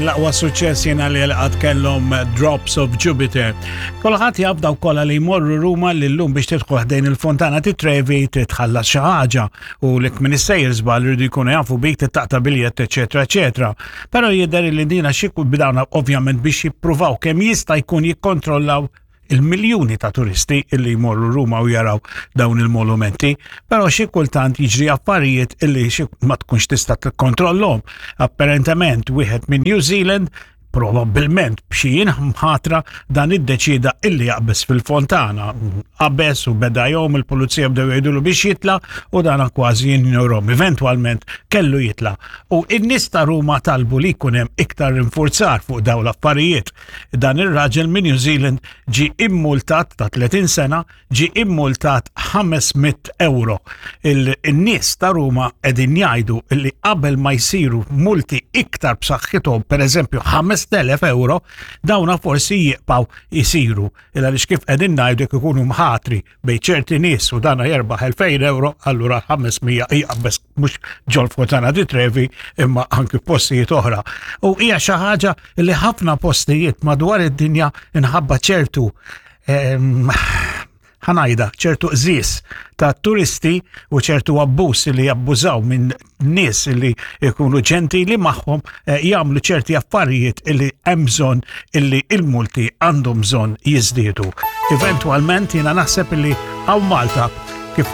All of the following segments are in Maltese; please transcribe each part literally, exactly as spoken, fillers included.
L-aqwa suċċess jiena li għad kellhom Drops of Jupiter. Kulħadd jaf, dawk kollha li jmorru Ruma, li llum biex tidħol ħdejn il-Fontana di Trevi titħallas xi ħaġa u lek min issejjer żball jridu jkunu jafu bik, taqta' biljett, eċetera, eċetera. Però jidher li dina xi bidawna ovvjament biex jippruvaw kemm jista' jkun jikkontrollaw il-miljuni ta' turisti illi jmorru Ruma u jaraw dawn il-monumenti, però xi kultant jiġri affarijiet illi xi ma tkunx tista' tikkontrollhom. Apparentement wieħed minn New Zealand, probabbilment b'xi mħatra, dan iddeċida illi jaqbes fil-fontana. Qabeż u beda jgħum, il-pulizija bdew jgħidulu biex jitla u dan kważi jinjorom. Eventwalment kellu jitla. U in-nies ta' Ruma talbu li jkun hemm iktar rinforzar fuq dawn l-affarijiet. Dan ir-raġel minn New Zealand ġi immultat, ta' tletin sena, ġi immultat ħames mitt euro. Il-nies ta' Ruma qegħdin jgħidu li qabel ma jsiru multi iktar b'saħħithom, per eżempju ħamest elef euro, dawna forsi jibqgħu jisiru. Illa li kif qegħdin ngħidu, jekk ikunu mħatri bejn ċerti nies u dana jerbaħ elfejn euro, allura ħames mija jaqbeż mhux ġol Fontana di Trevi imma anki postijiet oħra. U hija xi ħaġa li ħafna postijiet madwar id-dinja inħabba ċertu ehm, ħa ngħidha, ċertu qżis ta' turisti u ċertu abbuż li jabbużaw minn nies li jkunu ġentili magħhom, eh, jagħmlu ċerti affarijiet illi hemm bżonn illi il-multi għandhom bżonn jiżdiedu. Eventwalment jiena naħseb illi hawn Malta, kif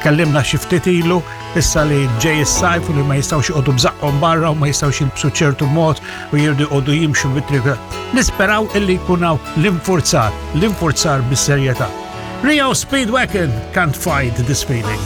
tkellimna xi ftit ilu, issa li ġej is-sajf u li ma jistgħux joqogħdu bżaqqhom barra u ma jistgħux jilbsu ċertu mod u jridu jqogħdu jimxu bit-triq. Nisperaw illi jkun hawn l-infurzar, l-infurzar bis-serjetà. R E O Speedwagon, "Can't Fight This Feeling".